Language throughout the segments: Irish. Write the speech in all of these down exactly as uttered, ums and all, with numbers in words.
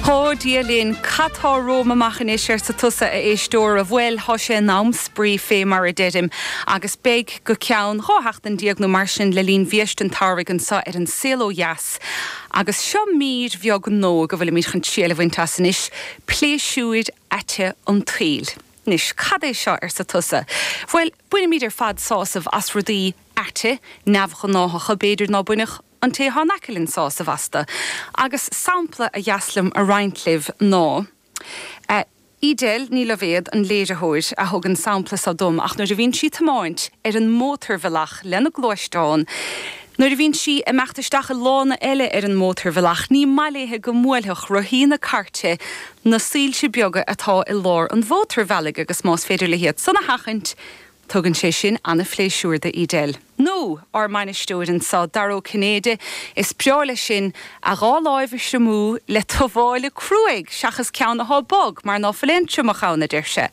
Ó Dia linn, cad tá romham amach anois arsa tusa a éisteoir bhuel tá sé in am spraoi fé mar a deirim, agus beidh go ceann dhá sheachtain déag nó mar sin le linn bhiaiste an tsamhraidh anseo ar an Saol Ó Dheas. Agus seo mír bheag nua go bhfuilimid chun triail a bhaint as anois, pléisiúir aite an tsaoil. Anois cad é seo arsa tusa. Bhuel, bainimid ar fad sásamh as rudaí aite, neamhghnáthacha b'fhéidir ná bainfeadh an té atá in aice linn sásamh astu. Agus sampla a dheas liom a roinnt libh ná. Uh, Edel Ní Loibhéad an léiritheoir a thug an sampla seo dom ach nuair a bhíonn sí ag tiomáint ar an mótarbhealach lena gluaisteán. Nuair a bhíonn sí ag imeacht isteach i lána eile ar an mótarbhealach, ní maith léithe go mbuailfeadh rothaí na cairte na soilse beaga atá i lár an mhótarbhealaigh agus más féidir léi iad san a sheachaint, Tugann sé sin an-phléisiúr d'Edel. Nó ár mbainisteoir anseo Dara Ó Cinnéide is breá leis-sean a dhá láimh a thriomú le tuáille cruaidh seachas ceann atá bog mar ná fuil aon triomach ann a deir sé.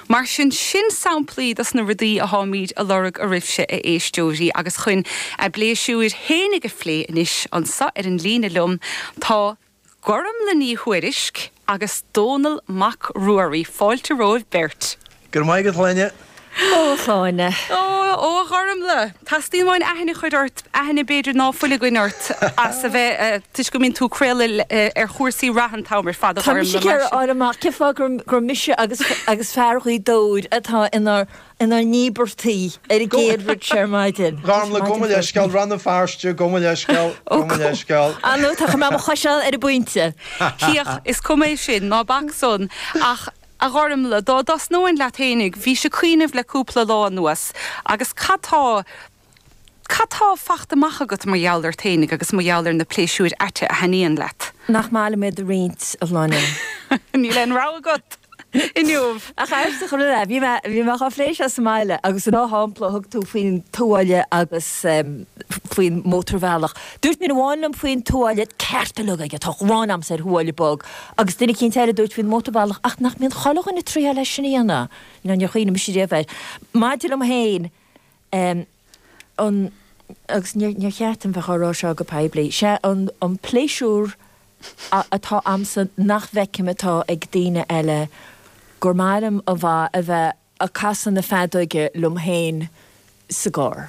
Mar sin sin samplaí dos na rudaí atáimid a lorg oraibhse a éisteoirí agus chun a bpléisiúir féinig a phlé anois anseo ar an líne liom tá Gormlaith Ní Thuairisg agus Dónall Mac Ruairí fáilte romhaibh beirt. Gur maith go léine? Ó Shláine. Ó ó Ghormlaith, Teastaíonn uainn aithne a chur ort aithne b'fhéidir ná fuil againn ort as a bheith toisc go mbíonn tú ag craoladh ar chúrsaí reatha an t-am ar fad a Tá mise Ghormlaith ar ar amach cén fáth gur gur mise agus agus fear Ghaoth Dobhair atá inár inár n-íobartaigh ar an gcéad rud seo ar maidin. Gormlaith gabh mo leithscéal Rann na Feirste gabh mo leithscéal gabh mo leithscéal. Anú tá mé mo choiseáil ar an bpointe. Cíoch is cuma é sin ná bac san ach a Ghormlaith dá dtosnóinn leat féinig bhí sé cuimhneamh le cúpla lá anuas agus cad tá Cad tá fachta amach agat mar gheall ort féinig agus mar gheall ar na pléisiúir aite a thaitníonn leat. Nach maith liom iad a roinnt a Shláine. Níl aon rogha agat inniu. Ach airsta chu le bhí mé bhí mé chá phléis sa mbaile agus an dá shampla thug tú faoin tuáille agus um, faoin mótarbhealach. Dúirt duine amháin liom faoin tuáille ceart le aige tá gráin a'msa ar thuáille bog, agus duine eicínt eile dúirt faoin mótarbhealach ach nach mbíonn chuile dhuine ag triail leis sin a dhéanamh. Ná níor chuimhnigh mise riamh air. Maidir liom féin um, an agus níor níor cheart dom bheith á rá seo go poiblí. sé an, an pléisiúr a- atá a'msa nach bhfeicim atá ag daoine eile gur maith liom a bheith a bheith ag casadh na feadóige liom féin sa gcarr.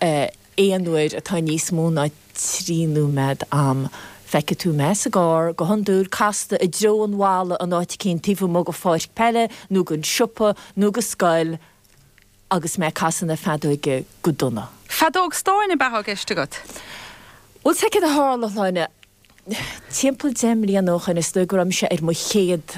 Uh, aon uair atá níos mó ná trí nóiméad a'm feicfidh tú mé sa gcarr go hiondúil casta i dtreo an bhaile an áit cinn taobh amuigh go pháirc peile nó gon siopa nó go scoil agus mé casadh na feadóige go dona. Feadóg stáin ab ea atá i gceist agat. Bhuel cad a tharla Shláine timpeall deich mbliana ó shin is dóigh go raibh mise ar mo chéad